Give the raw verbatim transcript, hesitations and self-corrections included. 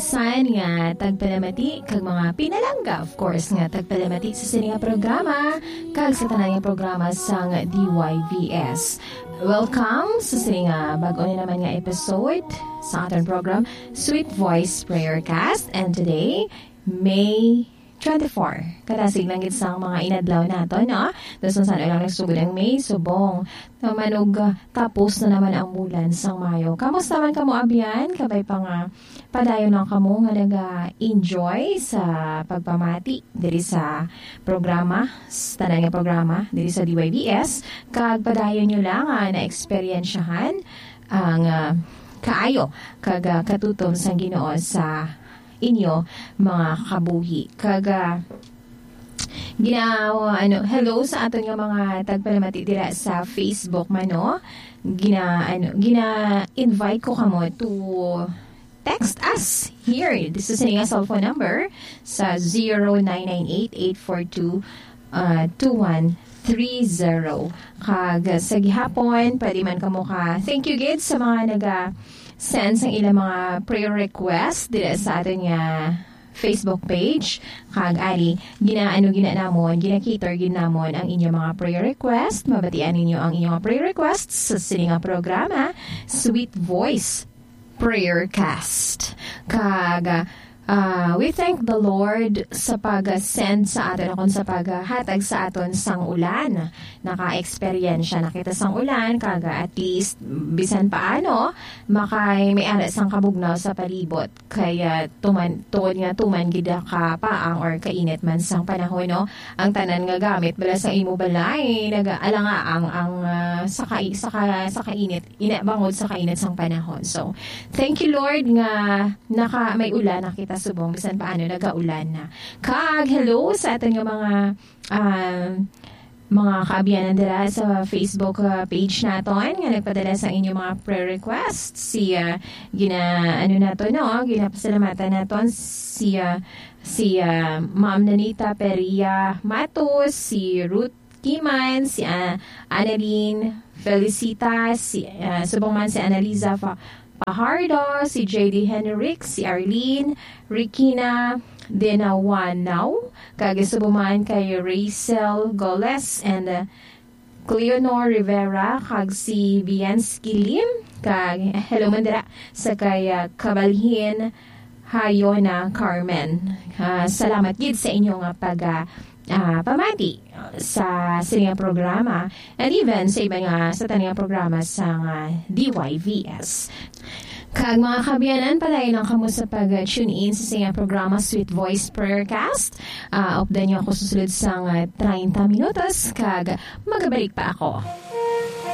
San nga tagpalamati kag mga pinalangga, of course, nga tagpalamati sa sini nga programa kag sa tanan nga programa sang D Y V S. Welcome sa sini nga bag-o na naman nga episode sa aton program, Sweet Voice Prayer Cast. And today, May twenty-four. Kadasig lang gid sang mga inadlaw nato, no? Tapos kung saan lang nagsugod ang May, subong. Naman og, ah, tapos na naman ang bulan sang Mayo. Kamusta man kamo, abyan? Kabay pa nga padayon lang kamo nga naga-enjoy sa pagpamati diri sa programa, sa tanan nga programa, diri sa D Y V S. Kag padayon nyo lang nga na-eksperyensyahan ang, ah, kaayo kag, ah, katutom sang Ginoo sa inyo mga kabuhi. Kag, ah, gina-, ano, hello sa aton nga mga tagpalamati dira sa Facebook man, no? Gina-, ano, gina-invite ko kamo to text us here. This is nga cellphone number sa zero nine nine eight, eight four two, uh, two one three zero. Kag sa gihapon, pwede man kamo ka, thank you gid sa mga naga-send sang ilang mga prayer request dira sa aton nga Facebook page. Kag ari, ginaano gina namon, gina-cater gid namon ang inyong mga prayer request. Mabatian ninyo ang inyong mga prayer request sa sini nga programa, Sweet Voice Prayer Cast. Kag, ah, we thank the Lord sa pag-send sa aton, akon sa paghatag sa aton sang ulan. Naka-eksperyensya na kita sang ulan, kag at least, bisan paano, makay may ara sang kabugnaw sa palibot. Kaya tuman, tuod nga tuman gid ka paang or kainit man sang panahon, no? Ang tanan nga gamit bala sa imo balay, nag-alanga ang, ang, ah, sa kai-, sa ka-, sa kainit, ina bangod sa kainit sang panahon. So, thank you, Lord, nga naka, may ulan na kita subong, bisan paano nagaulan na. Kag hello sa aton nga mga, ah, mga kaabyanan dira sa Facebook, ah, page naton nga nagpadala sa inyong mga prayer request. Si, ah, gina-, ano nato, no? Ginapasalamatan naton si, ah, si, ah, Ma'am Nanita Peria Matos, si Ruth Kiman, si, ah, Annalyn Felicitas, si, ah, subong man si Annaliza Fa-, Fajardo, si J D Henrik, si Arlene, Rikina Denawanao, kag subong man kay Rachel Goles and, uh, Cleonor Rivera, kag si Bianski Lim, kag hello man dira sa kay, uh, Kabalhin Hayona Carmen. Uh, salamat gid sa inyo nga pag, uh, uh, pamati sa sini nga programa, and even sa iba nga, sa tanan nga programa sa nga D Y V S. Kag mga kaabyanan, padayon lang kamo sa pag-tune in sa sini nga programa, Sweet Voice Prayer Cast. Ah, updan niyo ako susulod sa nga treinta minutos, kag magabalik pa ako.